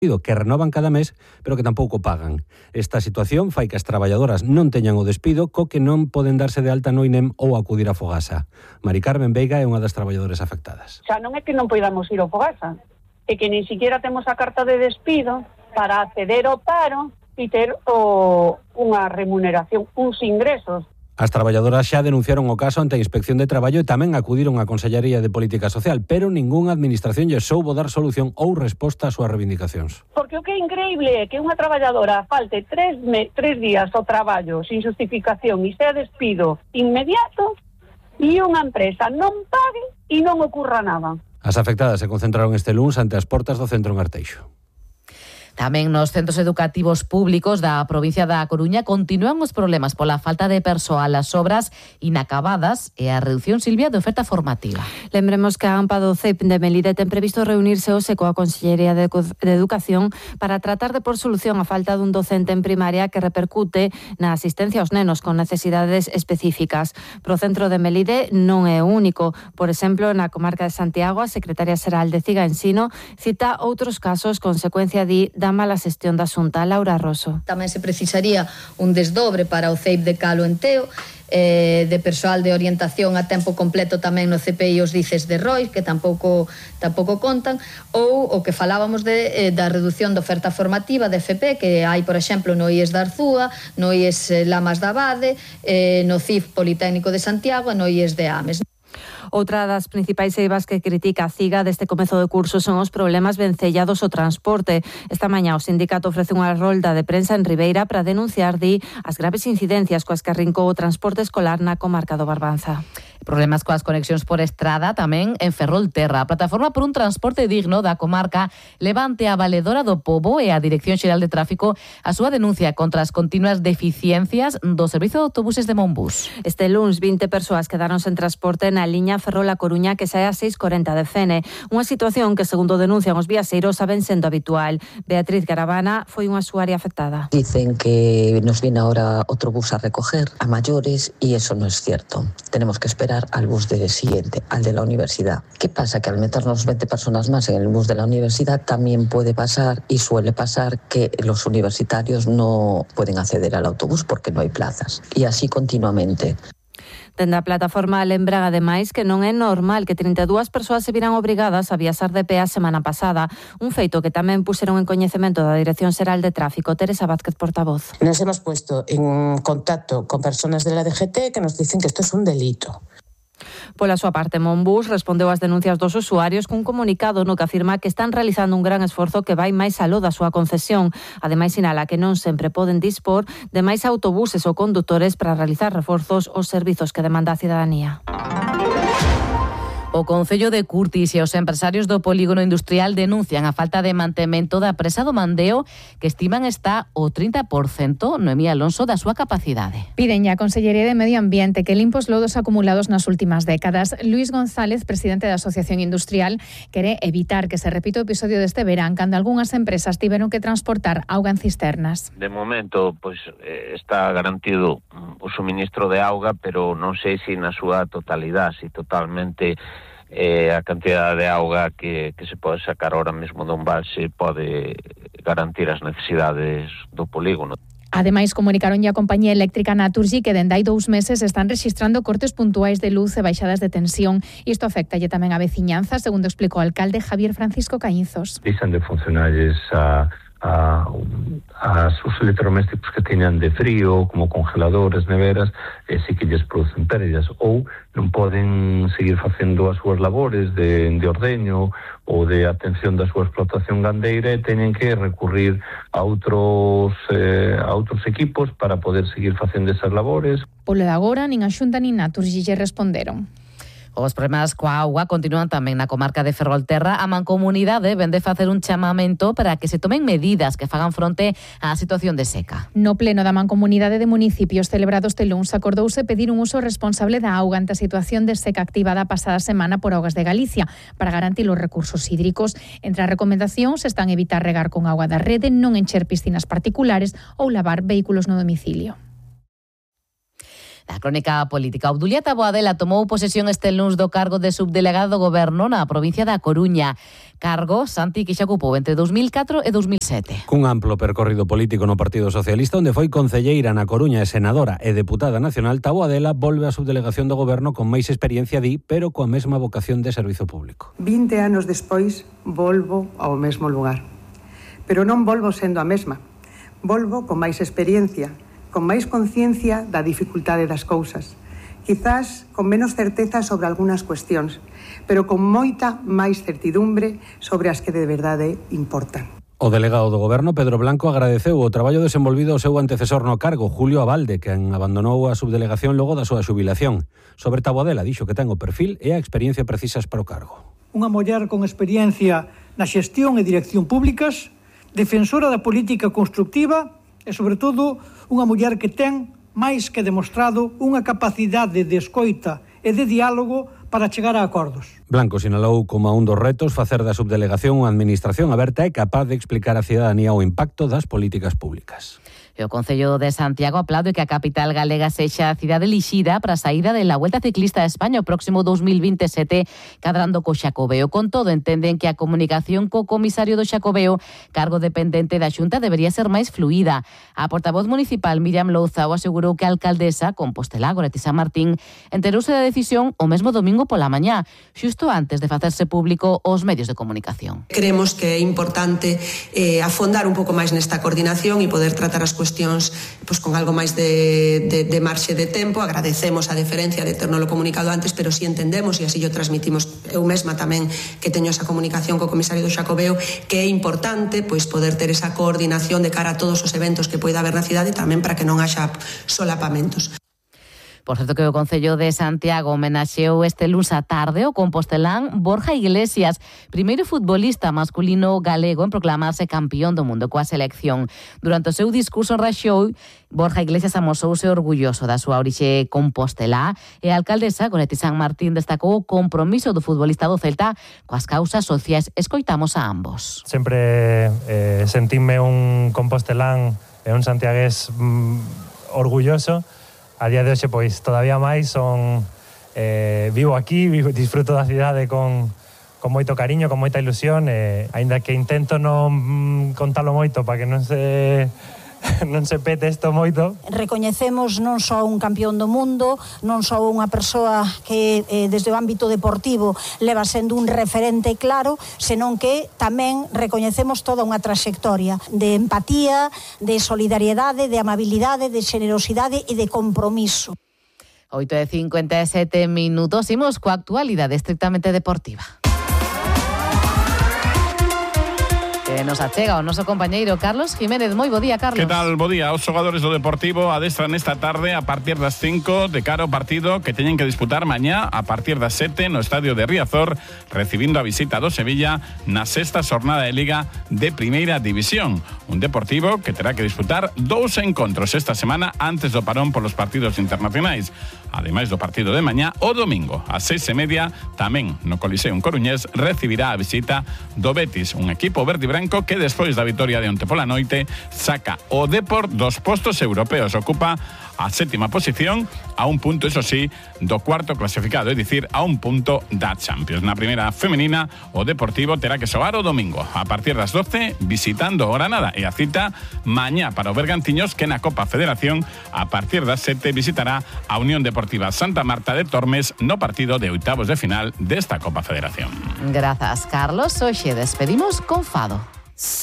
que renovan cada mes, pero que tampouco pagan. Esta situación fai que as traballadoras non teñan o despido, co que non poden darse de alta no INEM ou acudir a Fogasa. Mari Carmen Veiga é unha das traballadoras afectadas. Xa non é que non poidamos ir ao Fogasa, é que nin siquiera temos a carta de despido para acceder ao paro e ter unha remuneración, uns ingresos. As traballadoras xa denunciaron o caso ante a Inspección de Traballo e tamén acudiron á Consellería de Política Social, pero ningunha administración lle soubo dar solución ou resposta ás súas reivindicacións. Porque o que é increíble é que unha traballadora falte 3 días ao traballo sin justificación e sea despido inmediato e unha empresa non pague e non ocurra nada. As afectadas se concentraron este luns ante as portas do centro en Arteixo. Tamén nos centros educativos públicos da provincia da Coruña continúan os problemas pola falta de persoal, as obras inacabadas e a reducción, Silvia, de oferta formativa. Lembremos que a AMPA do CEIP de Melide ten previsto reunirse hoxe coa Consellería de Educación para tratar de por solución a falta dun docente en primaria que repercute na asistencia aos nenos con necesidades específicas. Pro centro de Melide non é o único. Por exemplo, na comarca de Santiago, a secretaria xeral de CIGA Ensino cita outros casos consecuencia da mala xestión da Xunta. Laura Rosso. Tamén se precisaría un desdobre para o CEIP de Calo en Teo, de persoal de orientación a tempo completo tamén no CPI os dices de Rois, que tampouco contan, ou o que falábamos da reducción da oferta formativa de FP, que hai, por exemplo, no IES da Arzúa, no IES Lamas da Abade, no CIF Politécnico de Santiago e no IES de Ames. Outra das principais eivas que critica a CIGA deste comezo de curso son os problemas vencellados ao transporte. Esta mañá o sindicato ofrece unha rolda de prensa en Ribeira para denunciar as graves incidencias coas que arrincou o transporte escolar na comarca do Barbanza. Problemas coas conexións por estrada tamén en Ferrolterra. A Plataforma por un Transporte Digno da comarca levante a Valedora do Pobo e a Dirección Xeral de Tráfico a súa denuncia contra as continuas deficiencias do servizo de autobuses de Monbus. Este luns 20 persoas quedaron sen transporte na liña Ferrol-A Coruña que sae a 6:40 de Fene. Unha situación que, segundo denuncian os viaxeiros, saben sendo habitual. Beatriz Garavana foi unha usuaria afectada. Dicen que nos viene ahora otro bus a recoger a mayores y eso no es cierto. Tenemos que esperar al bus siguiente, al de la universidad. ¿Qué pasa? Que al meternos 20 personas más en el bus de la universidad también puede pasar y suele pasar que los universitarios no pueden acceder al autobús porque no hay plazas. Y así continuamente. Dende a plataforma lembran ademais que non é normal que 32 persoas se viran obrigadas a viaxar de pé a semana pasada, un feito que tamén puxeron en coñecemento da Dirección Xeral de Tráfico. Teresa Vázquez, portavoz. Nos hemos puesto en contacto con personas de la DGT que nos dicen que esto es un delito. Pola súa parte, Monbus respondeu ás denuncias dos usuarios cun comunicado no que afirma que están realizando un gran esforzo que vai máis aló da súa concesión. Ademais, sinala que non sempre poden dispor de máis autobuses ou condutores para realizar reforzos aos servizos que demanda a cidadanía. O Concello de Curtis e os empresarios do polígono industrial denuncian a falta de mantemento da presa do Mandeo, que estiman está o 30%, Noemí Alonso, da súa capacidade. Piden a Consellería de Medio Ambiente que limpe os lodos acumulados nas últimas décadas. Luís González, presidente da Asociación Industrial, quere evitar que se repita o episodio deste verán cando algunhas empresas tiveron que transportar auga en cisternas. De momento, está garantido o suministro de auga, pero non sei se na súa totalidade, se totalmente a cantidade de auga que se pode sacar ahora mesmo dun balse pode garantir as necesidades do polígono. Ademais, comunicaron a compañía eléctrica Naturgy que dende hai 2 meses están rexistrando cortes puntuais de luz e baixadas de tensión. Isto afectalle tamén a veciñanza, segundo explicou o alcalde Javier Francisco Caínzos. Deixan de funcionarles os electrodomésticos que teñan de frío, como congeladores, neveras, si que lles producen pérdidas, ou non poden seguir facendo as súas labores de ordeño ou de atención da súa explotación gandeira e teñen que recurrir a outros equipos para poder seguir facendo esas labores. Polo de agora, nin a Xunta nin Naturgy lle responderon. Os problemas coa auga continúan tamén na comarca de Ferrolterra. A Mancomunidade vende facer un chamamento para que se tomen medidas que fagan fronte á situación de seca. No pleno da Mancomunidade de Municipios celebrado este luns acordouse pedir un uso responsable da auga ante a situación de seca activada a pasada semana por Augas de Galicia para garantir os recursos hídricos. Entre as recomendacións están evitar regar con auga da rede, non encher piscinas particulares ou lavar vehículos no domicilio. Da crónica política. Obdulia Taboadela tomou posesión este luns do cargo de subdelegado do Goberno na provincia da Coruña. Cargo, Santi, que xa ocupou entre 2004 e 2007. Cun amplo percorrido político no Partido Socialista, onde foi concelleira na Coruña e senadora e deputada nacional, Taboadela volve á subdelegación do Goberno con máis experiencia pero coa mesma vocación de servizo público. 20 anos despois, volvo ao mesmo lugar. Pero non volvo sendo a mesma. Volvo con máis experiencia, con máis conciencia da dificultade das cousas. Quizás con menos certeza sobre algunhas cuestións, pero con moita máis certidumbre sobre as que de verdade importan. O delegado do Goberno, Pedro Blanco, agradeceu o traballo desenvolvido ao seu antecesor no cargo, Julio Abalde, quen abandonou a subdelegación logo da súa xubilación. Sobre Taboadela, dixo que ten o perfil e a experiencia precisas para o cargo. Unha muller con experiencia na xestión e dirección públicas, defensora da política constructiva e, sobre todo, unha muller que ten, máis que demostrado, unha capacidade de escoita e de diálogo para chegar a acordos. Blanco sinalou como a un dos retos facer da subdelegación unha administración aberta e capaz de explicar á cidadanía o impacto das políticas públicas. O Concello de Santiago aplaude que a capital galega sexa a cidade elixida para a saída da Vuelta Ciclista a España o próximo 2027, cadrando co Xacobeo. Con todo, entenden que a comunicación co comisario do Xacobeo, cargo dependente da Xunta, debería ser máis fluida. A portavoz municipal Miriam Louzao asegurou que a alcaldesa Compostelá, Goretti San Martín, enterouse da decisión o mesmo domingo pola mañá, xusto antes de facerse público aos medios de comunicación. Creemos que é importante afondar un pouco máis nesta coordinación e poder tratar as cuestións con algo máis de marxe de tempo. Agradecemos a deferencia de ternos comunicado antes, pero si entendemos, e así o transmitimos eu mesma tamén, que teño esa comunicación co comisario do Xacobeo, que é importante poder ter esa coordinación de cara a todos os eventos que poida haber na cidade, tamén para que non haxa solapamentos. Por certo que o Concello de Santiago homenaxeou este luns á tarde o compostelán Borja Iglesias, primeiro futbolista masculino galego en proclamarse campeón do mundo coa selección. Durante o seu discurso en Raxou, Borja Iglesias amosouse orgulloso da súa orixe compostelá e a alcaldesa Goretti San Martín destacou o compromiso do futbolista do Celta coas causas sociais. Escoitamos a ambos. Sempre sentime un compostelán e un santiagués orgulloso. A día de hoxe, pois, todavía máis vivo aquí, disfruto da cidade con moito cariño, con moita ilusión, aínda que intento non contalo moito para que non se pete isto moito. Recoñecemos non só un campeón do mundo, non só unha persoa que desde o ámbito deportivo leva sendo un referente claro, senón que tamén recoñecemos toda unha traxectoria de empatía, de solidariedade, de amabilidade, de xenerosidade e de compromiso. 8:57 minutos, imos coa actualidade estrictamente deportiva. Nos achega o noso compañeiro Carlos Jiménez. Moi bo día, Carlos. Que tal? Bo día. Os xogadores do Deportivo adestran esta tarde a partir das 5 de cara ao partido que teñen que disputar mañá a partir das 7 no estadio de Riazor, recibindo a visita do Sevilla na sexta xornada de Liga de Primeira División. Un Deportivo que terá que disputar 2 encontros esta semana antes do parón polos partidos internacionais. Ademais do partido de mañá, o domingo, ás 6:30, tamén no Coliseo Coruñés, recibirá a visita do Betis, un equipo verde e branco que despois da vitoria de onte pola noite saca o Depor dos postos europeos. Ocupa a 7ª posición a un punto, eso sí, do cuarto clasificado, é dicir, a un punto da Champions. Na primeira femenina, o Deportivo terá que xogar o domingo a partir das 12 visitando o Granada e a cita mañá para o Bergantiños, que na Copa Federación a partir das 7 visitará a Unión Deportiva Santa Marta de Tormes no partido de oitavos de final desta Copa Federación. Grazas, Carlos. Hoxe despedimos con Fado.